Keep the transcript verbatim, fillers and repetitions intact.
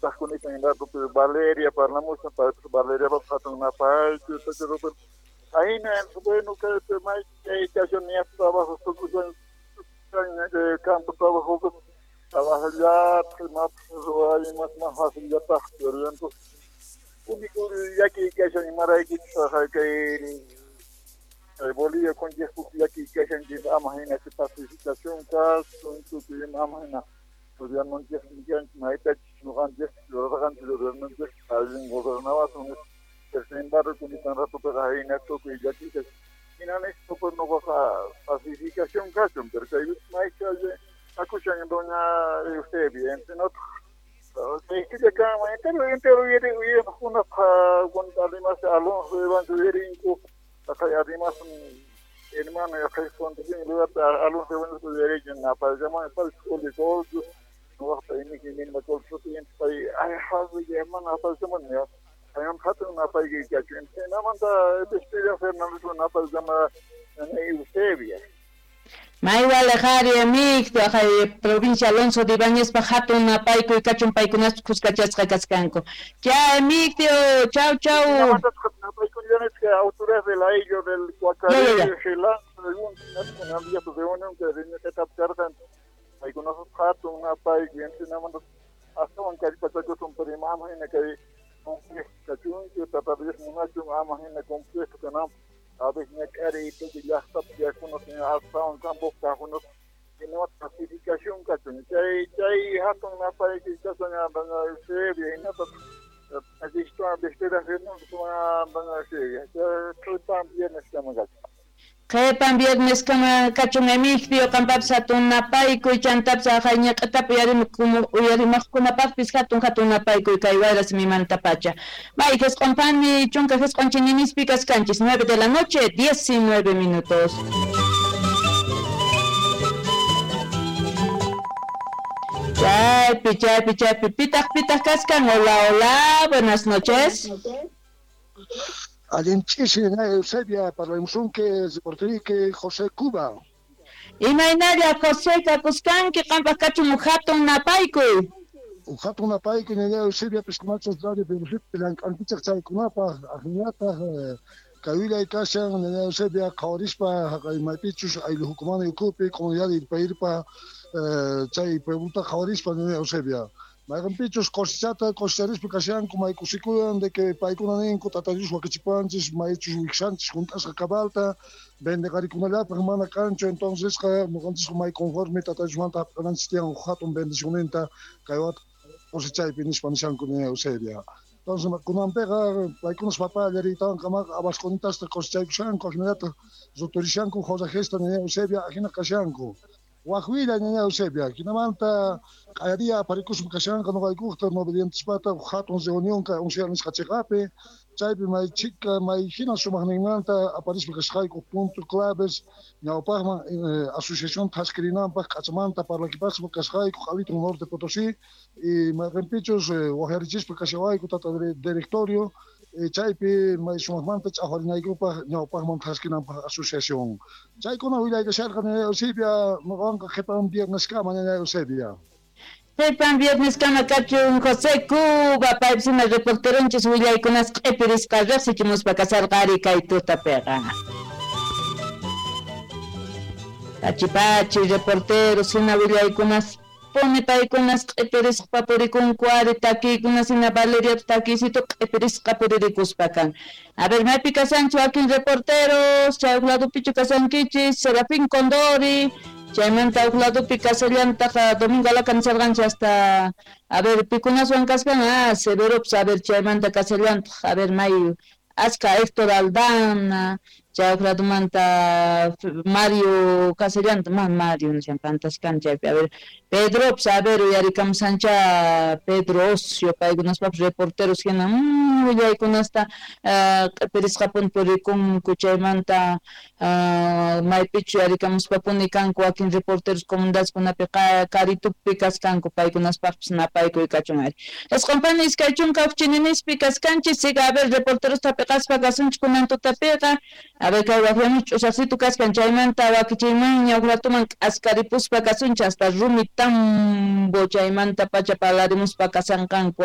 Tajkunita rato Valeria parlamushan Valeria hatun napaykuy ahina bueno que may kay trabajo tukuy campo trabajo trabajar más ruay más más fácil ya está pero único llaki kashan imarayki kay Bolivia con llaki kashan ama hina pacificación kas tukuy ama hina gobierno mayta nuqanchis rurarqanchis gobernanchis allin gobernawasun sin embargo kunitan ratopiqa hina tukuy llakisqa hina nispa nuqaqa pacificación kachun pero kay maycha akushan doña Eusebia entre nosotros killa kanman entero entero uyariqkunapaq además Alonso Evans uyarinku además hermano lugar Alonso Evans uyarichun napayllaman pay todo nuqaqta iniki ninma pay ay hermano apayllaman ayam hatun napayki kachun hinamanta Despedida Fernández napayllama Eusebia. Maywale qhari Emigdio provincia Alonso de Ibáñezpa hatun napaykuy kachun paykunaspa khuskachasqa kaskanku. Cha Emigdio, chau chau. Autoridades de la ello del Cuacaré, Gelán, según reunión que paykunaspa hatun napaykuy hinamanta astawan kallpachakusun pero ama hina kay kachunchu tata Dios munachun ama hina completo kananpaq. A veces ñak'ariy tukuy llaqtapi tiyaqkunas astawan campopi kaqkunas hina pacificación kachun chay chay hatun napaykuy kachun doña Eusebia hinataq Despedida Fernández doña Eusebia qhipan viernes kama kachun. Qhipan viernes kama kachun Emigdio qampapis hatun napaykuy chantapis haqay ñaq'atapi uyarimaqkunapaqpis hatun hatun napaykuy kay wayra simimantapacha. May jisq'onpani chunka jisq'on chininispi kaskanchis nueve de la noche diecinueve minutos. Chaypi chaypi chaypi pitaq pitaq kaskan. Hola hola, buenas noches. Allinchisi Eusebia, parlamusunki reporteriki José Cuba. Imaynalla José kakuskanki qampaq kachun hatun napaykuy. Hatun napaykuy ñaña Eusebia piskunachas radio Perú llank'ankichaq chaykunapaq ahinataq kay kashan ñaña Eusebia qhawarispa haqay maypichus aylluhukumana ukupi comunidad irpa chay pueblota qhawarispa ñaña Eusebia. Mayqanpichus cosechata cosecharispa kashanku maykusikuyan de que paykuna ninku tata Dios wakichipuwanchis maychus wiksanchis junt'asqa cabalta vendeqarikunallapaq mana kanchu entonces nuqanchisqa may conforme tata Diosmanta hap'inanchis tiyan hatun bendicionninta kay wata cosechaypi nispa nishanku ñaña Eusebia. Entonces kunanpiqa paykunas papá llariytawan kamaqa abaskunitasta cosechaykushanku ajinallataq ruturishanku forrajesta ñaña Eusebia ajina kashanku. Wajwilla ñaña Eusebia, hinamanta q'ayaria aparikuspa kashanqa nuqaykuqta no obedientespata hatun reunión kay once nisqa chiqapi chaypi may chika may hina sumaqninmanta aparispa kasqayku punto claves ñawpaqman asociación thaskirinanpaq k'achamanta parlakipaspa kasqayku Q'alitu Norte Potosí y mayqinpichus waqyarichispa kashawayku tata directorio chaypi may sumaqmanta ch'aqwarinaykupaq ñawpaqman thaskinanpaq asociación. Chaykuna willaykasharqa ñaña Eusebia nuqanqa qhipan vierneskama ñaña Eusebia. Qhipan viernes kama kachun José Cuba paypisina reporteronchis willaykunas q'ipirisqa riqsichimuspa kasarqa ari kay tutapiqa. Pachi pachi reporteros hina willaykunas pone paykunas q'ipirisqa purikunku ari takiykunas hina Valeria takiysitu q'ipirisqa puririkuspa kan. A ver, maypi kasanchu wakin reporteros, chay huk ladopichu kasankichis, Serafín Condori, chaymanta huk ladopi kasallantaq Domingo Alaca nisarqanchis hasta, a ver, pikunaswan kaskan, ah, Severops, a ver, chaymanta kasallantaq, a ver, may aska Héctor Aldana, chay huk ladomanta Mario Casellanta, ma Mario nishan pantaskan chaypi, a ver, Pedrops, a ver, uyarikamusancha Pedro Ocio, paykunaspapis reporteros hina, mmm, willaykunasta q'ipirisqapuni purikunku chaymanta maypichu uyarikamuspapuni kanku wakin reporteros comunidadkunapi Karitupi kaskanku paykunaspaqpis napaykuy kachun ari. Isqunpani iskay chunka huk chininispi kaskanchis, siga a ver reporteros tapiqaspa kasunchik kunan tutapiqa. A ver kay waqyamuch ch'usaqsitu kaskan chaymanta wakichiymanña huk ratuman k'askaripuspa kasunchik hasta rumi tambo chaymanta pacha parlarimuspa kasanqanku.